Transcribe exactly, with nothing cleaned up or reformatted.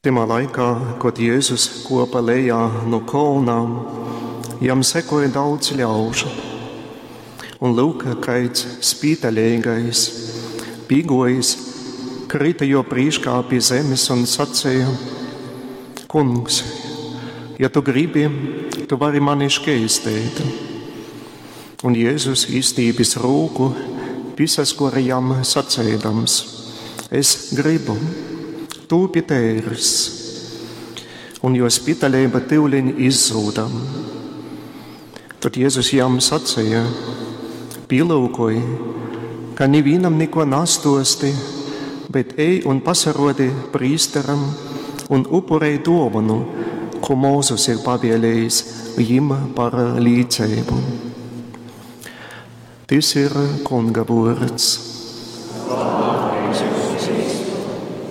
Tymā laikā, kod Jezus kuopa lejā nu kolna, jam sekoja daudz ļaužu. Un lyuk, kaids spītaļeigais, pīguojis, kryta juo prīškā pi zemes un saceja: Kungs, ja tu gribi, tu vari mani škeisteit. Un Jezus, izstīpis rūku, pīsaskore jam saceidams: Es gribu, tūpi teirs. Un juo spitaļeiba tyuleņ izzuda. Tod Jezus jam saceja: Pīlyukoj, ka nivīnam nikuo nastuosti, bet ej un pasaruodi prīsteram un upurej duovonu, kū Mozus ir pavielējis jim par līceibu. Tys ir Kunga vuords.